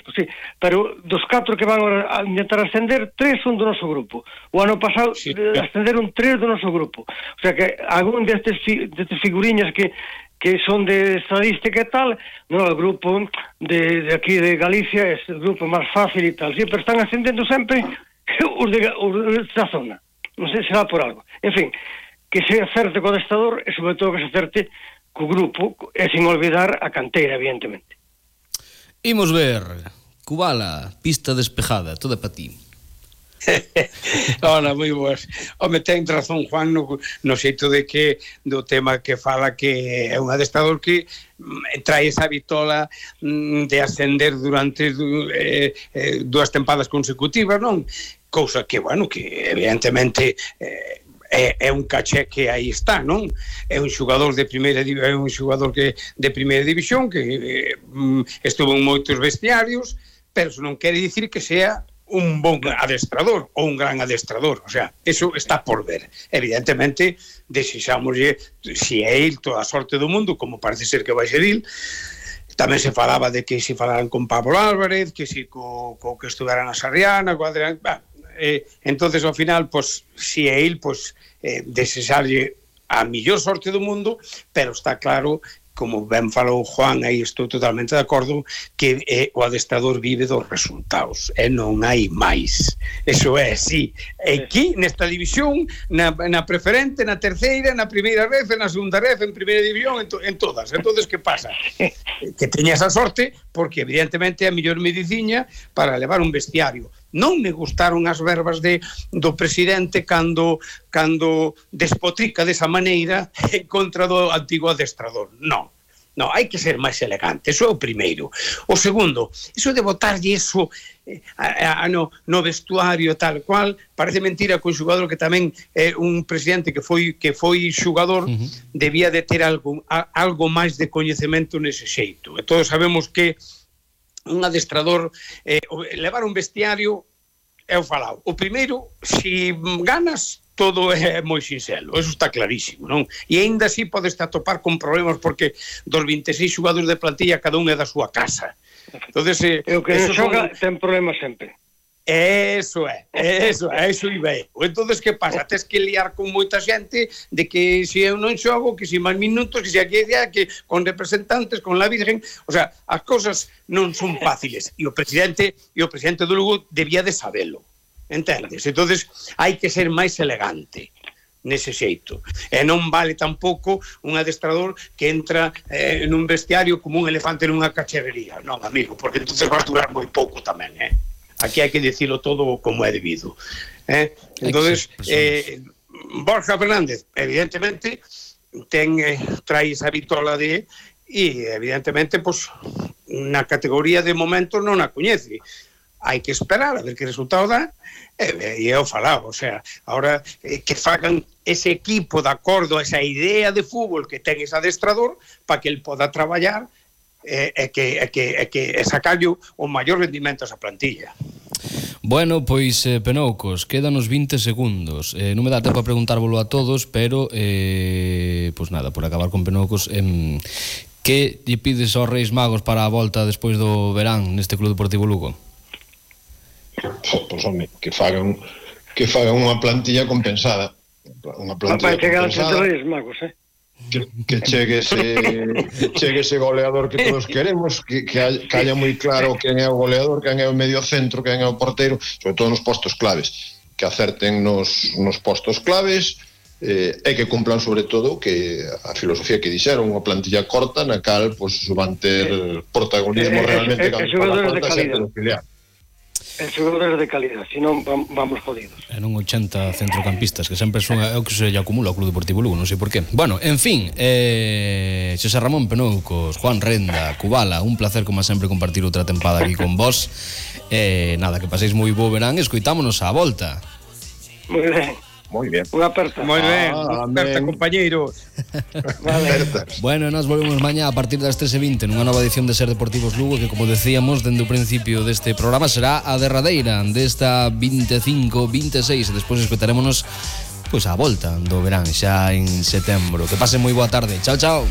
connosco, sí. Pero dos 4 que van a intentar ascender, 3 son do noso grupo. O ano pasado ascenderon 3 do noso grupo. O sea que algún destes figuriñas que son de estadística e tal, no, o grupo de aquí de Galicia é o grupo máis fácil e tal, sí, pero están ascendendo sempre os da zona. Non sei se será por algo. En fin, que se acerte co adestrador e sobre todo que se acerte co grupo e sin olvidar a canteira, evidentemente. Imos ver Kubala, pista despejada, toda para ti. Hola, moi boas. Home, ten razón Juan no xeito de que do tema que fala que é un adestrador que trae esa vitola de ascender durante 2 tempadas consecutivas, non? Cousa que, bueno, que evidentemente é un caché que aí está, non? É un xogador de primeira división que estuvo en moitos vestiarios, pero non quere dicir que sea un bon adestrador ou un gran adestrador, o sea, eso está por ver. Evidentemente, desexámoslle, si é il, toda a sorte do mundo, como parece ser que vai ser il. Tamén se falaba de que se falaran con Pablo Álvarez, que se co que estudaran a Sarriana, co Adrián, entonces ao final, pues, si é il, pues, desexarlle a millor sorte do mundo, pero está claro, como ben falou Juan, aí estou totalmente de acordo, que o adestrador vive dos resultados e non hai máis. Eso é así. Aquí, nesta división, na preferente, na terceira, na primeira ref, na segunda ref, en primeira división, en todas. Entonces, que pasa? Que teña esa sorte, porque evidentemente é a mellor mediciña para levar un vestiario. Non me gustaron as verbas do presidente cando despotrica desa maneira en contra do antigo adestrador. Non, hai que ser máis elegante, eso é o primeiro. O segundo, eso de botarlle eso no vestuario tal cual, parece mentira que un xogador que tamén é un presidente que foi xogador debía de ter algo máis de coñecemento nese xeito. E todos sabemos que un adestrador, levar un vestiario é o falado. O primeiro, si ganas, todo é moi sinxelo, eso está clarísimo, non? E aínda así podes atopar con problemas porque dos 26 xogadores de plantilla cada un é da súa casa. Entonces, o que non xoga ten problemas sempre. Eso iba eu. Entonces, que pasa? Tes que liar con moita xente de que se eu non xogo, que se máis minutos, que se aquí que con representantes, con la Virgen, o sea, as cousas non son fáciles. E o presidente do Lugo debía de sabelo, entendes? Entonces, hai que ser máis elegante nese xeito. E non vale tampouco un adestrador que entra nun vestiario como un elefante nunha cacharrería. Non, amigo, porque entonces vas durar moi pouco tamén, Aquí hai que dicilo todo como é debido. Entonces, Borja Fernández, evidentemente, trae esa vitola e evidentemente, pues, na categoría de momento non a coñece. Hai que esperar a ver que resultado dá, e eu falaba, o sea, ahora que fagan ese equipo de acordo a esa idea de fútbol que ten ese adestrador para que el poda traballar e que sacarlle o maior rendimento a esa plantilla. Bueno, pois, Penoucos, quédanos 20 segundos. Non me dá tempo a preguntárvolo a todos, pero, pois nada, por acabar con Penoucos, que lle pides aos Reis Magos para a volta despois do verán neste Club Deportivo Lugo? Pois, home, que fagan unha plantilla compensada. Unha plantilla compensada. Reis Magos, que chegue ese goleador que todos queremos, que haya moi claro quen é o goleador, quen é o medio centro, quen é o porteiro, sobre todo nos postos claves, que acerten nos postos claves, e que cumplan sobre todo que a filosofía que dixeron, unha plantilla corta na cal van ter protagonismo realmente cando xogadores de calidad. En xogadores de calidad, senón vamos jodidos. E non 80 centrocampistas, que sempre son o que se lle acumula ao Club Deportivo Lugo, non sei por qué. Bueno, en fin, Xosé Ramón Penoucos, Juan Renda, Kubala, un placer como sempre compartir outra tempada aquí con vos. Nada, que paséis moi bo verán, escoitámonos á volta. Moi ben. Moi ben. Unha aperta. Moi ben, unha aperta, compañeiros. Vale. Bueno, nos volvemos mañá a partir das 13:20 nunha nova edición de Ser Deportivos Lugo, que, como decíamos, dende o principio deste programa será a derradeira desta 25-26, e despois escoitarémonos pois a volta do verán xa en setembro. Que pasen moi boa tarde. Chao, chao.